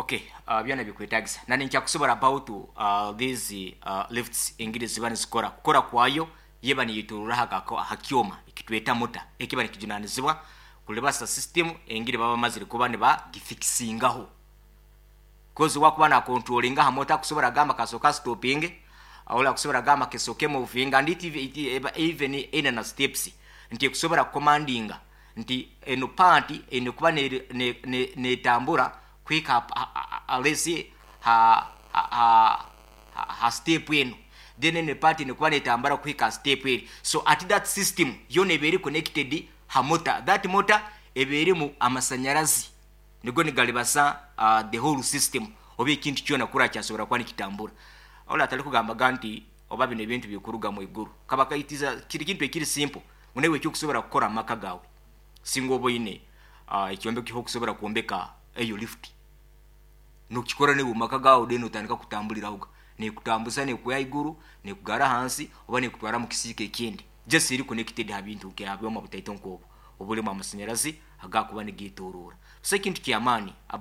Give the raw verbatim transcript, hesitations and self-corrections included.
Okay, uh, byona bikwetagisa nani nkyakusobora about uh, these uh, lifts engeri ziba nizikora. Kukora kwayo, yeba niyiturura ha kyoma ekitweta motor, ekiba nikijunanizibwa kulibasa system engeri baba bamazire kuba nibagifikisingaho, 'cause wakuba na controllinga ha motor, kusobora gamba kasoka stopping, ola kusobora gamba kesoke moving, and it, it, even ina na steps nti kusobora commandinga nti eno part eno kuba netambura ne, ne, kwika alesi ha ha, ha, ha step eno, then eno part eno kuba netambura kwika step eri. So at that system yona eba eri connected ha motor. That motor eba erimu amasanyarazi, nigo nigalibasa uh, the whole system oba ekintu kyona kura kyasobora kuba nikitambura. Ola atali kugambaga nti oba bino ebintu bikuruga mu iguru, kaba kaitiza kiri kintu ekiri simple munewe ekyokusobora kukora amaka gawe. Singa oba oine uh, ekyombeko okusobora kwombeka eyo lift, nokikora newe maka gawe, then otandika kutambulirahoga, nekutambuza, nekuya iguru, nekugara hansi, oba nekutwara mu kisiika ekindi, just eri connected ha bintu nke abyoma butaito nkobo obulimu amasanyarazi agakuba nigetorora. So ekintu kyamaani about